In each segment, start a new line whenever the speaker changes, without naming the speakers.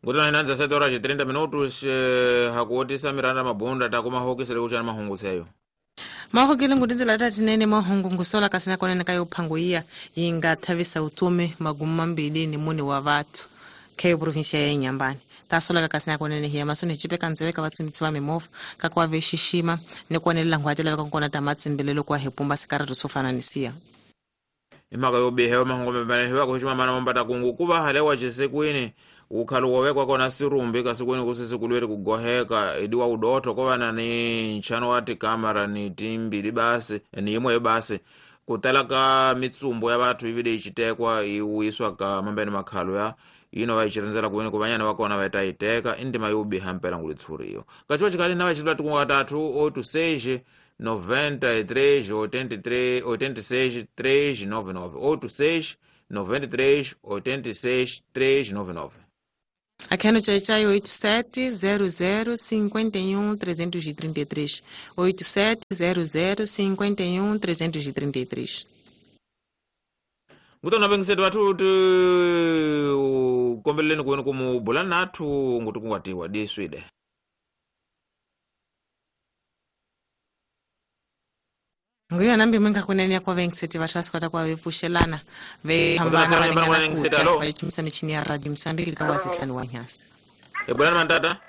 Ngutana inanza 7 horas e 30 minutos hakuotisa Miranda Mabunda takuma hokisele kuchana mahungu seyo.
Mahokile ngutizela tatinene mahungu ngusola kasina konene kayo phango iya yinga thavisa utume magumu mambili ni muni wa vathu khayo provincia ya Inhambane. Tasola kasina konene hiya masoni chipeka nzeweka vatsimbitsi va mimovha kakwa vexixima ni kuonelela nghwati laveka kona ta matsimbelelo kwa hepumba sikaratu swo fana ni siya.
Imhaka yo biha mahungu mabane hiwa kuxima mana mambata kungu kuva halewa xisekwini ukhalu wovekwa kona sirumbi kasikwini kusisikulweri kugoheka idiwa udotho kovana ni nchano wa tikamera ni timbili basi ni yimwe basi kutala ka mitsumbu ya vathu ivile ichitekwa iwiswa ka mambeni makhalo ya ino vaichirinzela kuweni kuvanyana vakona vaita iteka indima yobiha mpela ngulitshuriyo kachiwa chikali na vachitula tikunga 3 8 6 93 83 86 399 86 93 86 399.
Aqui no Tchai Tchai 87 00 51 333 87 00 51 333.
Ngutona bengisetu vathu ti kombeleleni kuweni kumubula nathu nguti kungatiwa diswide.
Nguyo nambi mwenga kunene kwa vengiseti vathu vasikwata kwa vepfuxelana vehambana valingana kuja vayitumisa michini ya radio Msambiki lika wasihlanu wa nyasi.
Ebulani mantata?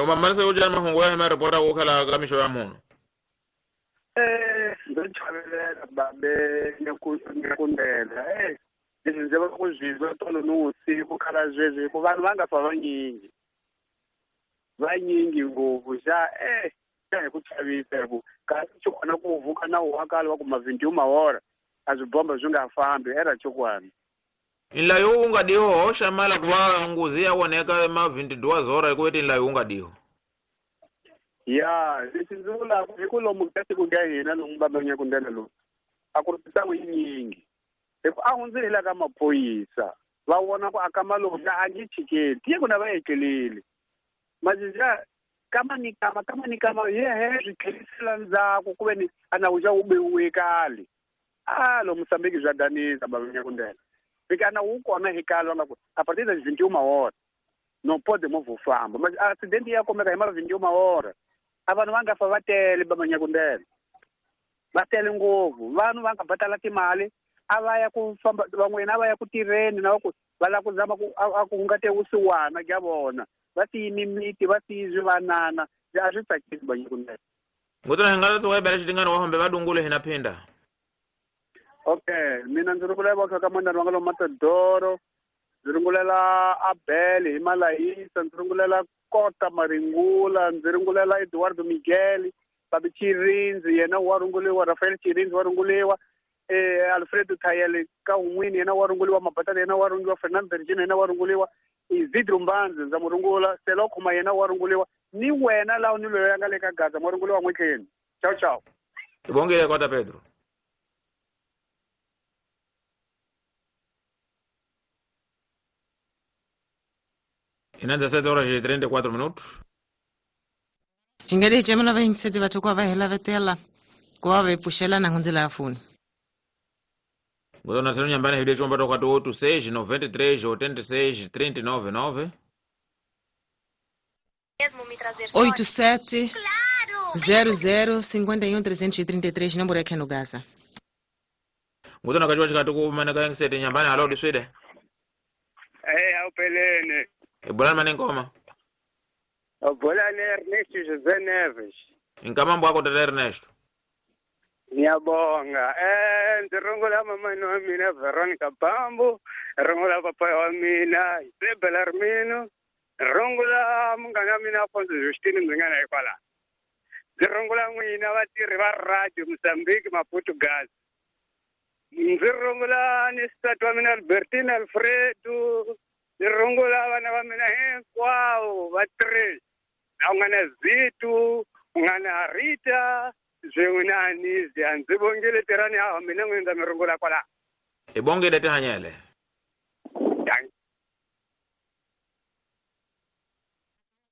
Umamarisa ujani mahungu ya hema reporta kukhala kamisho ya muno.
Ndochavelela babe nyakundela. Leswi ndzi va ku zwizwa tolo ni vusiku khala zwezwi hikuva vanhu va nga fa vanyingi. Vanyingi ngopfu xa xa hi ku chavisa hi ku kasi xi kona ku vuka na wakala wa ku mavhindi mahora a swibomba swi nga fambi era chokwana.
Inlayo unga diho hoxa mala kuva nguzi ya woneka mavhindi duas hora hi ku eti inlayo unga diho.
Ya leswi ndzi vulaka hi ku lomu ka tiko ka hina lomu bamanyakundela lowu a ku ri mitlangu yinyingi hi ku a hundzile la ka maphorisa va vona ku aka malonga a nge chikeli tiye ku na va etleleli. Majija kama ni kama kama ni kama yehe swi tlherisela ndzhaku ku ve ni a nawu xa wu bewiwe kale. A lo Mosambiki bya danisa bamanyakundela. Fika na wu kona hi kale va nga ku a partir das 21 hora não pode mover famba mas acidente ya kumeka hi ma 21 hora. A vanhu va nga fa va tele bamanyakundela. Va tele ngopfu vanhu va nga batala timali a va ya ku famba van'wina a va ya ku tirheni na ku va lava ku zama ku a ku hungate vusiwana ka vona. Va siyimi miti va siyi swivanana a swi tsakisi bamanyakundela.
Ngutana hi nga ta bela xitingana wa hombe va dungule hina phinda.
Okay, mina ndzi rungulela va ka mandana wa nga lo Matadoro, ndzi rungulela Abel hi Malayisa, ndzi rungulela Kota Maringula, ndzi rungulela Eduardo Miguel, Babi Chirinzi yena wa runguliwa, Rafael Chirinzi wa runguliwa, Alfredo Tayele ka un'wini yena wa runguliwa, Mabatata yena wa runguliwa, Fernando Virginia yena wa runguliwa, Isidro Mbanzi ndza mu rungula, Selo Khuma yena wa runguliwa, ni wena laha ni loyi a nga le ka Gaza ma runguliwa n'witleni. Ciao ciao.
Ibongile Kota Pedro. Inanza 7 horas e 34 minutos.
Ingadi chemela vengiseti vathu kwa va hela vetela kwa va pfuxelana ngundzela ya foni.
Ngotona thelo nyambana hide chomba toka 8 6 93 86 39 9.
87 00 51 333 nomboro ya Keno Gaza.
Ngotona kachiwa chikati ku manaka yengiseti nyambana halo diswide.
Awuphelene.
Ebulani manengoma.
Bolani Ernesto José Neves.
Inkamambo wako tata Ernesto.
Ngiyabonga. Ndzi rungula mamani wa mina Veronica Bambu, rungula papa wa mina Isabel Armino, rungula munghana wa mina Afonso Justine ndzi nga na hikwalaho. Ndzi rungula n'wina vatirhi va radio Mozambique Maputo Gaza. Ndzi rungula ni nsati wa mina Albertina Alfredo. Ndzi rungula vana va mina hinkwavo va 3. La u nga na Zitu, u nga na Rita, swin'we na Anisia. Ndzi vongile tirhani hawa mina n'wini ndza mi rungula kwalaho.
Hi bongile tihanyele.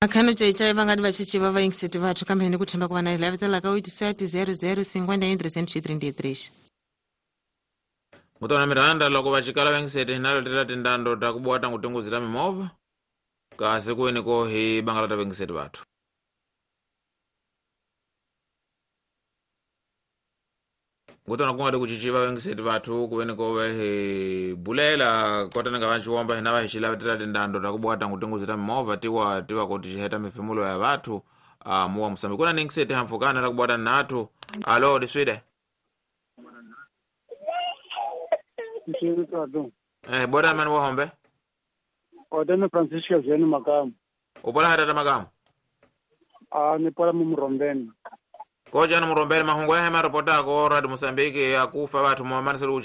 Akhano chaichai vangadi vachichiva vaingiseti vathu kambe ni ku themba ku va na hi lavetelaka 87 00 51 333.
Mutona miranda loko vacikala vengisete hinalo tela tindando ta kubuwa tangu tinguzi ta mimovha kasi kuweni ko hi bangala ta vengisete vathu. Ngutona kunga kuchichiva vengiseti vathu kuweni ko hi bulela kota nga vanchiwomba hina va hi xilavetela tindando ta kubuwa tangu tinguzi ta mimovha tiwa tiva ko tixiheta mifemulo ya vathu muwa Mosambiki. Kuna ningiseti hamfukana ta kubuwa ta nathu. Alo diswide. Bora mani wa hombe?
Odeme Francisco Zeni Makamu.
Upola hata Makamu?
Ni pola mumurombeni.
Koja na murombeni mahungu ya hema ripota ko Radio Mosambiki ya kufa watu mwamani selu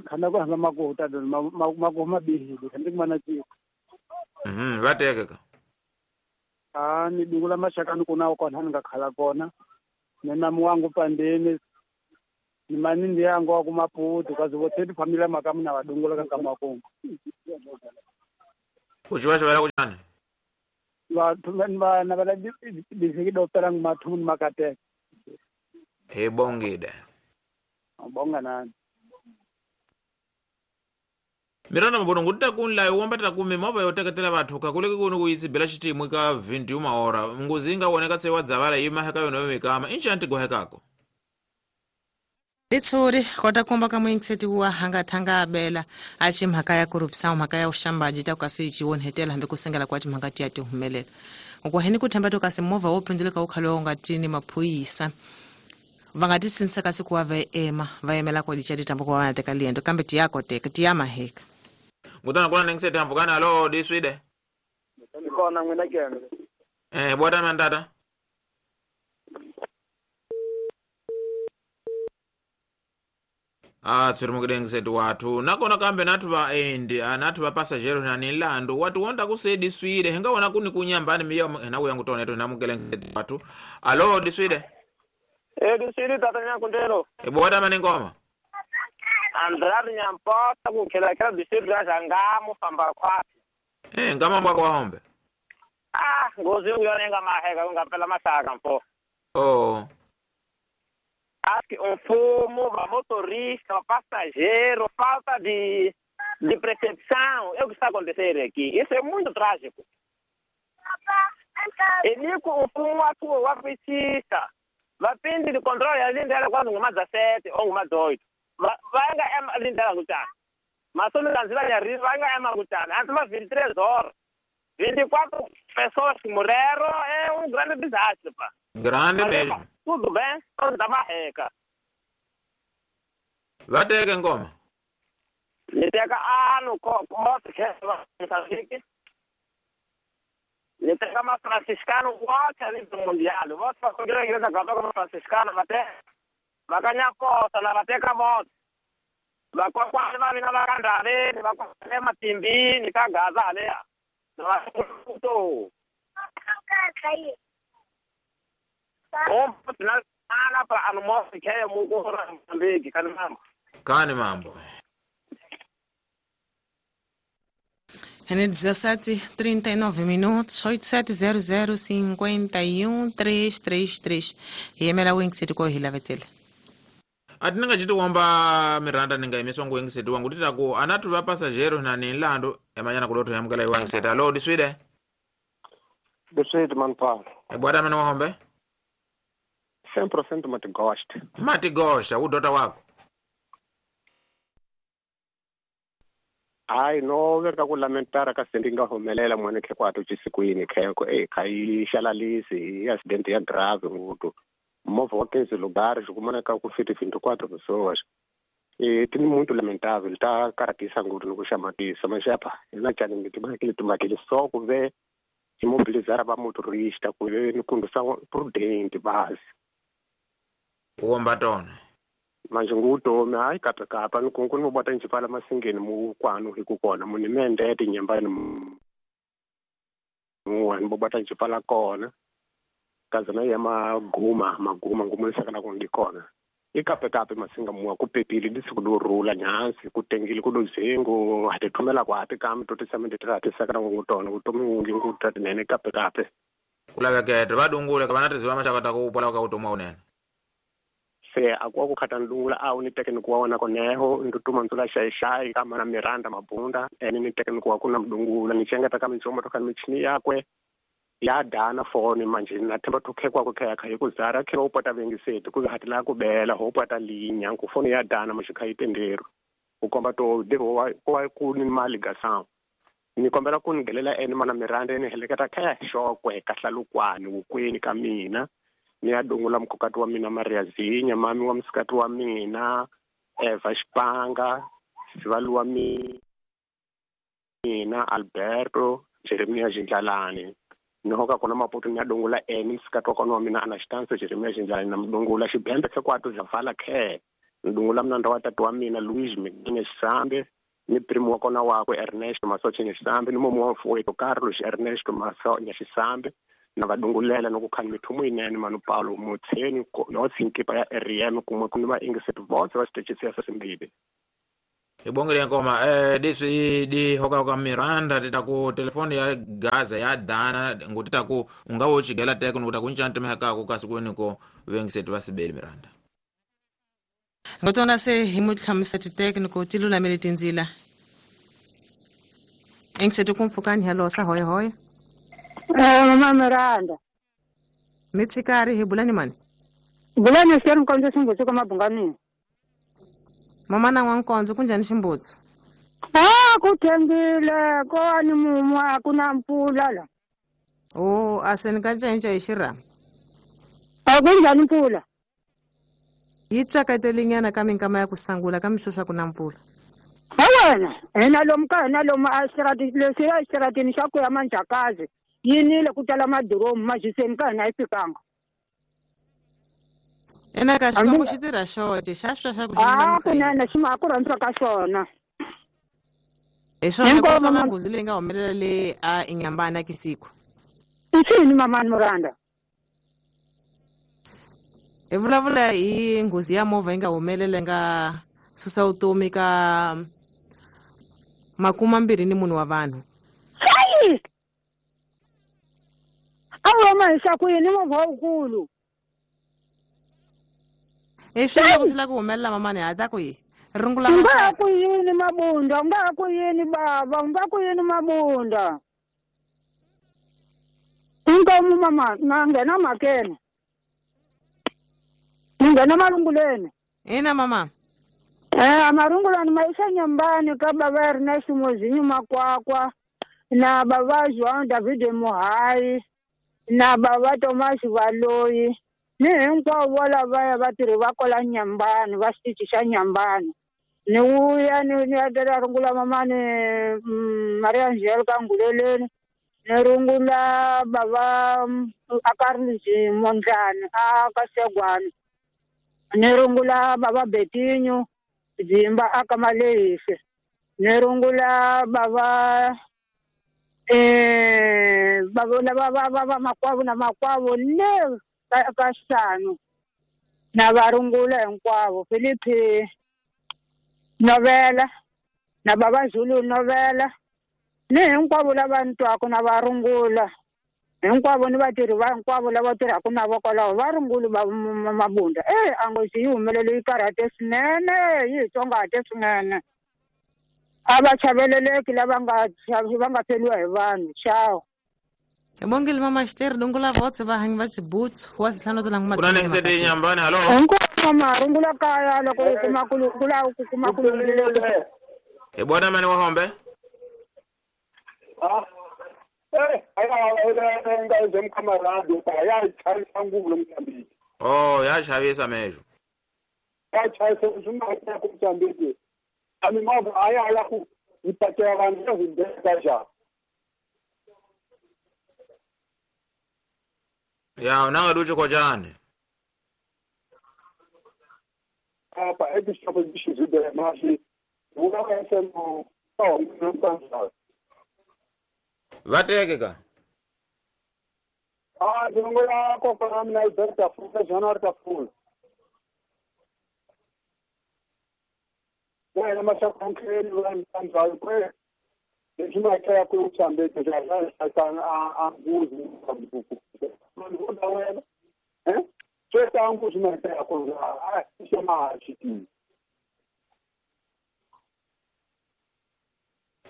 Kana kwa hama makuta don maku mabihi kandi kumana chi.
Vatekeka.
Ni dingula mashaka nikuna kona ngakhala kona. Nena muwangu pandeni. Ni manindi yangu wa kumaputu kazi wote familia Makamu na wadungula kama makongo.
Kuchiwa wala kuchani?
Wa na bala bisiki doktora mathu makate.
He bongide.
Bonga nani.
Miranda mbono ngutita kunla uomba tata kumi mova yoteketela vathu kakuleke kuno kuitsibela xitimwi ka 21 hora nguzinga woneka tsewa dzavala yima heka yona mikama inchi gohekako.
Litsuri kota kumba ka muingiseti wa hanga thanga abela achi mhaka ya corruption mhaka ya uxambaji ta kasi chiwonhetela hambi kusengela kwa timhaka tiya tihumelela ukwaheni kuthemba to kasi movha wo phindzuleka wu khale nga tini maphuyisa va nga tisinisa kasi kuwa va ema va yimela ko licha titambo kwa vana teka liendo kambe tiyakoteka tiyamaheka.
Ngutana kuna ningiseti hambukana alo diswide.
Kona ngwena kene.
Bwata mandata. Tsuri mukidengiseti wathu nakona kambe nathu va endi nathu va pasajero na nilandu watu wonda kusedi swide hingaona kuni kunyambani miya hina kuyangu toneto hina mukidengiseti wathu. Alo diswide.
Diswide tata nyakundelo.
Bwata maningoma.
Andrade nyampota kukhela khela diswide ra zangamu famba khwati.
Ngama mbwa kwa hombe.
Ngozi uyonenga maheka ungapela masaka mfo.
Oh.
Acho que fumo, motorista, passageiro, falta de percepção, é o que está acontecendo aqui. Isso é muito trágico. E nico, o fumo atua, o apetista. Vapinde de controle, a linda era quase uma 17 ou uma 18. Vai ganhar a linda era Mas só no Brasil, vai ganhar uma Antes, umas 23 horas. 24 pessoas que morreram, é um grande desastre, pá.
Grande mesmo.
Tudo bem, todos da marreca.
Vateke ngoma.
Niteka ano moto que Moçambique. Niteka ma franciscano vote ali do mundial. Vote para a igreja católica franciscana vate. Vakanya posa na vateka vote. Vakwa va mina vakandale, vakwa matimbini nikagaza ale. Na
Kani mambo.
É 17:39 minutos, 8700 51 333. E emela wingiseti ko hilavetele.
Ati ninga chiti wamba Miranda ninga imiswa nguingiseti wangu titaku anatu va pasajero na nilandu emanyana kudoto yamukela iwangiseti. Alo diswide.
Diswide manpal.
Bwada meno hombe.
100% matigosta.
Matigosta, udota wako.
Ai no verka ku lamentara ka sendinga humelela mwana khe kwatu chisikwini kheko kai xalalisi accident ya grave ngutu. Movha wa 15 lugares kumana ka ku fiti 24 pessoas. Tem muito lamentável, tá karatisa ngutu no kuxamatisa, mas apa, ina chani ngithi tumakile só ku ve imobilizar ba motorista ku ve ni condução prudente base.
Kuomba tona.
Manje ngutomi hayi kapekapa nikunku nibota njipala masingeni mukwanu hikukona munimende tinyambani muwa nibobata njipala kona kazana ya maguma ngumulisakana kundikona ikapekape masinga muwa kupepile disikudurula nyansi kutengile kuduzingu atithumela kwapi kam totisamenditiratisakana ngutona utomi ungi ngutatinene ikapekape
kulavekete vadungule kavanatiziva mashakata kuupola kautomwa unene
Se a ku khata ndungula a wu ni teke ni ku wa wona koneho ndutuma ndzula xayi ka mana Miranda Mabunda ene ni teke ni ku wa ku na mdungula ni chengeta ka minchomo to ka michini yakwe ya dana foni manje na themba to khekwa ku khaya kha ku zara khe u pota vengiseti ku hatla ku bela ho pota linya ku foni ya dana manje kha itendero ku komba to devo wa ku ni mali ga ni kombela ku nghelela ene mana Miranda ni heleketa khaya xokwe ka hlalukwani wukweni ka mina ni ya dungula mkhokati wa mina Maria Zinya mami wa msikati wa mina Eva Xipanga sivali wa mina Alberto Jeremia Jindlalani ni hoka kona Maputo ni ya dungula ene msikati wa kona wa mina Anastanso Jeremia Jindlalani na mdungula xibembe sekwato zavala khe ndungula mnanda wa tatu wa mina Luis Mgine Sambe ni primo wa kona wakwe Ernesto Masoche Nyaxisambe ni mumu wa mfowethu Carlos Ernesto Masoche Nyaxisambe na vadungulela no ku khani mithumu yinene manu Paulo Mutsheni no tsinkipa ya RM kumwe ku ni va ingiseti votse va xitichisi ya sesimbili
hi bongile nkoma leswi di hoka ka Miranda ti ta ku telefoni ya Gaza ya dana ngo ti ta ku u nga wo chigela teko ni ku ta ku ncana timhaka ku kasi ku ni ko vengiseti va sibeli Miranda
ngotona se hi mutlhamisa titekiniko ti lulamile tindzila engiseti ku mpfukani halosa hoya hoya
mama Miranda
mitsikari hi bulani mani
bulani seri nkonzo ximbutsu ka mabunganini
mama na n'wankonzo kunjhani ximbutsu
ku thengile ko ni mumu a ku na mpfula la
o a se ni ka cinca hi xirhami
a ku njhani mpfula
yi tsakatelinyana ka minkama ya ku sangula ka mihlo swa ku na mpfula
ha wena hina lomu ka hina lomu a leswiya exitaratini xa ku ya Manjakazi yi nile ku tala madiromu majiseni ka hina yi fikanga
ena ka Xikwembu xi tirha xoxe xa swa xa ku xi lulamisa
kunene xi ma ku rhandza ka xona
hi swona ku sola nghozi leyi nga humelela le a Inyambani a Kisiku
i xini mamani Miranda
hi vulavula hi nghozi ya movha yi nga humelela nga susa vutomi ka 24 wa vanhu
hayi a wu huma hi xa ku yini movha wukulu
hi swilo ku swi ku humelela mamani ha ta ku yi rungula
u nga ku yini Mabunda u nga ku yini bava u nga ku yini Mabunda inkomu mama na nghena makene ni nghena marunguleni
ina mama
marungulani ma isa Nyambani ka bava Ernest Mozinyu Makwakwa na bava João David Muhai na bava Thomas Valoyi ni hinkwavo lavaya vatirhi va kwala Nyambani va xitichi xa Nyambani ni wuya ni ya tela rungula mamani Maria Angelica Nguleleni ni rungula bava Akarlisi Mondlani a ka Segwani ni rungula bava Betinho Dzimba a ka Malehisi ni rungula bava bava va makwavo na makwavo le ka Xanu na varungula hinkwavo Philippi Novela na bava Zulu Novela ni hinkwavo lava ni twaka na varungula hinkwavo ni vatirhi va hinkwavo lava tirhaka na vo kwalaho va rungula va Mabunda a nghozi yi humelele yi karhate swinene yi hi tsongahate swinene a va chaveleleki lava nga va nga feriwa hi vanhu xawu
hi bongile mama xiteri dungula votse va hanyi va xibutsu wa zihlanu ta langu
kuna ni Nyambani halo
hinkwavo mama rungula kaya loko u kuma ku kuma ku
hi bona mani wa hombe oh ya chavisa mejo
ya chavisa zuma ku mtambiki ami movha aya ya ku ipakela vanhu zindeka ja
ya unanga duche ko jani
apa é que estava de mas o essa no não
vateke ka
ndingula kokwana mina Albert Tafula January Tafula wena mashakonkheli va mtandzayo kwe leswi makaya ku tsambete a nguzi wena Swetangu swi ku a xi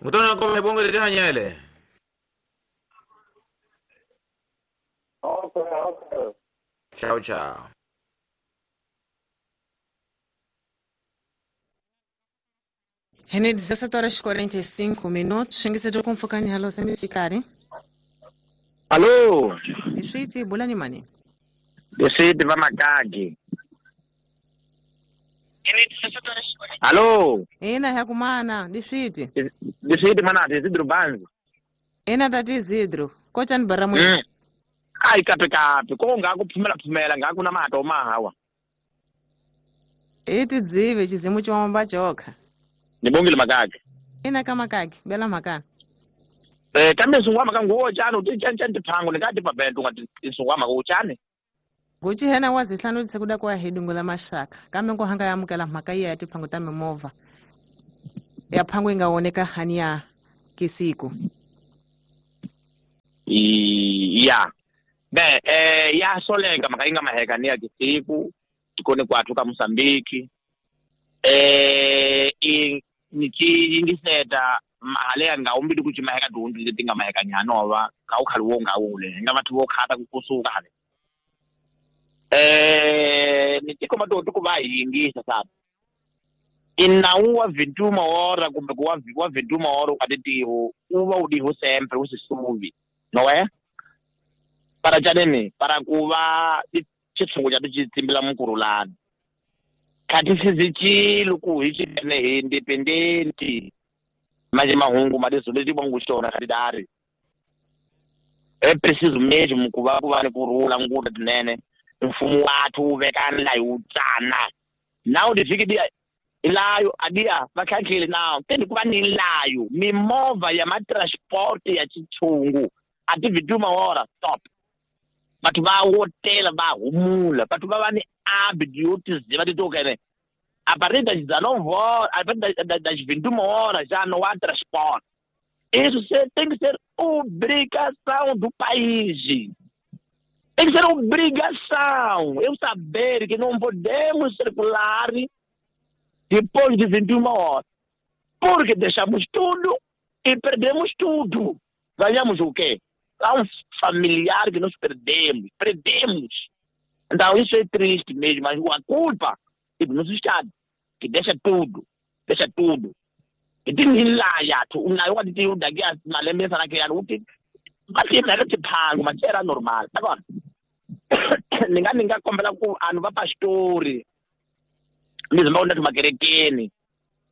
Mutona ko bongo le hanyele.
Okay, okay.
Ciao ciao.
Rene 17h45 minutos. Xingiseto kumfukani halo semisikari.
Alô.
Diswiti bulani mani.
Diswiti va makagi. Alô.
Ina yakumana diswiti.
Diswiti mana Isidro Banzi.
Ina tati Isidro. Kocha ni baramu.
Ai kape kape ko nga ku phumela nga kuna mato mahawa.
Iti dzive chizimu chomba chokha.
Nibongile makaki.
Ina kama kaki bela makana.
Kambe sungwa makanguwo chani uti chani chani tiphango ndingati pabetu ngati sungwa makuwo chani.
Guchi hena wazihlanu kuda kwa hidungu la mashaka. Kambe ngohanga yamukela mhaka iya ya tiphango ta mimovha. Ya phango ingaoneka hani ya kisiku.
Ya. Be ya soleka mhaka inga maheka ni ya kisiku. Tikone kwathu ka Mozambique. Nichiyingiseta mahale nga umbili kuti maheka dundu leti nga maheka nyanova ka ukhali wo nga ule nga vathu vo khata kusuka hale ni tiko matoto ku va yingisa sabe inawu wa 21 hora kumbe ku wa 21 hora ukatitiho uva udiho sempre usisuvi nowe para chanene para kuva chitsungu chatu chitsimbila mukurulana kati sizichilo ku hi chene hi independent manje mahungu madizoleti bwangushona kati dari é preciso mesmo ku va ku va ni kurhula nguta tinene mfumo wathu wu vekana la hi wu tsana nawu tivhiki dia ilayo adia vakhakhile nawu tendi ku va ni layo mimovha ya matransport ya chitshungu a ti 21 hora stop batho ba wotela ba humula batho ba va ni hábito yo tiziva titokene a partir das 19 horas, a partir das 21 horas já não há transporte. Isso tem que ser obrigação do país. Tem que ser obrigação. Eu saber que não podemos circular depois de 21 horas. Porque deixamos tudo e perdemos tudo. Ganhamos o quê? Há um familiar que nós perdemos. Perdemos. Então isso é triste mesmo, mas a culpa é do nosso Estado, que deixa tudo, deixa tudo. E tem lá, tu, na hora de eu daqui a malembe naquela uti, mas sempre era tiphango, mas era normal. Agora, ninguém kombela ku anhu va pastori. Mesmo onde makerekeni.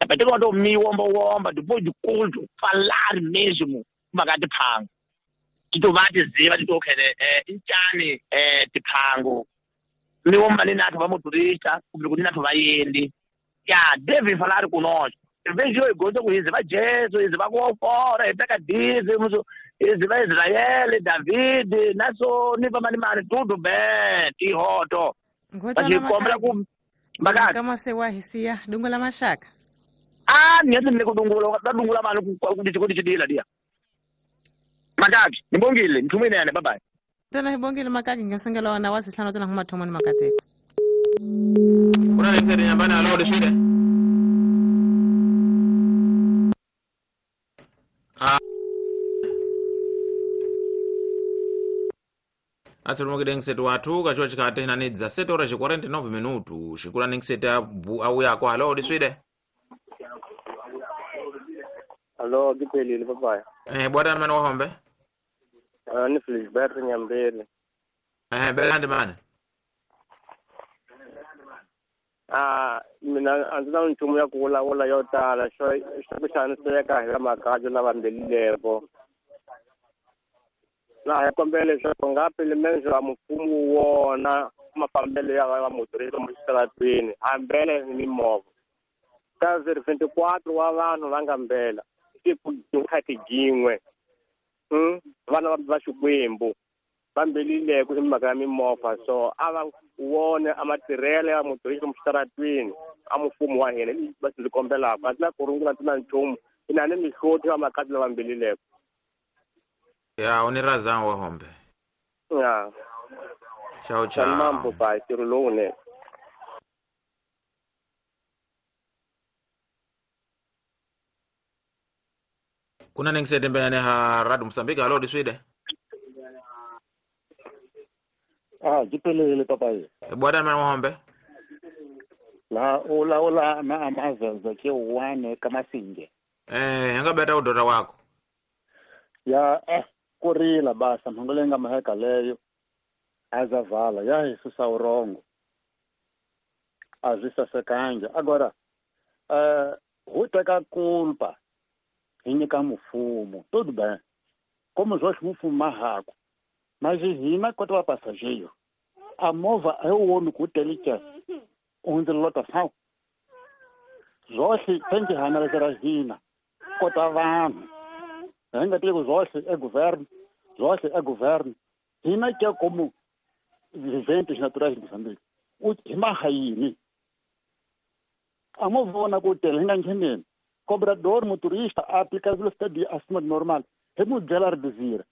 Apeteka wato mi womba womba depois de culto, falar mesmo makati phango. Tito va tiziva tito khele intjani tiphango. Mi womba ni nathu va motorista, kumbe ku ni nathu va yendi. Ya deve falar conosco. Vejo eu gosto com isso, vai Jesus, vai com fora, pega dízimos, isso vai Israel, David, naso ni va mani mani tudo bem, ti hoto.
Mas compra com kama se wa hisia dungula mashaka.
Ah, ni ni kudungula, dungula mani ku ku dila dia. Makaki, nibongile, nithumene bye bye.
Tena nibongile makaki ngasengela wana wasihlanu tena humathomoni makateka.
Kuna nitsere nyambana alo dishide. Atsolomokile ngisetu wathu kachiwa chikati nani 17 horas e 49 minutos. Xikula ningisete awuyako alo diswide.
Alo ngiphelile baba.
Bwana mani wahombe.
Ni Felisberto Nyambele.
Belandi mani.
Mina a ndzi na nchumu ya ku vulavula yo tala xo ku xaniseka hi la makabye lava mbelileko. Na hi kombela leswaku nga pelimendzo wa mfumo wona mafambelo ya va motorista exitarateni hambele ni mimovha ka 24 wa vanhu va nga mbela siku khati jin'we vana va Xikwembu va mbelileko i mhaka ya mimovha so a va wone a matirhelo ya motorista exitarateni a mfumo wa hina va ndzi kombelaka a ndzi na ku rungula ndzi na nchumu ina ni mihloti ya makati lava mbelileko.
Ya, uniraza wa hombe.
Ya.
Tchau, tchau.
Mambo pai, ntirho lowunene.
Kuna ningisetembelane ha Radio Mozambique. Alo diswide.
Ah, jipelele papai.
Bwana mwana hombe.
La ola ola na amazaza ke wane kamasinge.
Ngabeta udota wako.
Ya kurila basa mhangolenga maheka leyo. Azavala ya isusa urongo. Azisa sekanja. Agora huteka culpa. Hinyika mufumo, tudo bem. Como os outros mufumo marraco. Mas hina quanto a passageiro. A mova é o homem que tem que onde lotação. Zosi tem que analisar hina. Quanto a vanhu. Ainda tem os ossos é governo, zosi é governo. Hina que é como viventes naturais de Moçambique. O marraini. A mova na hotel hina ngenene. Cobrador, motorista, aplica velocidade acima do normal. Remodelar desir.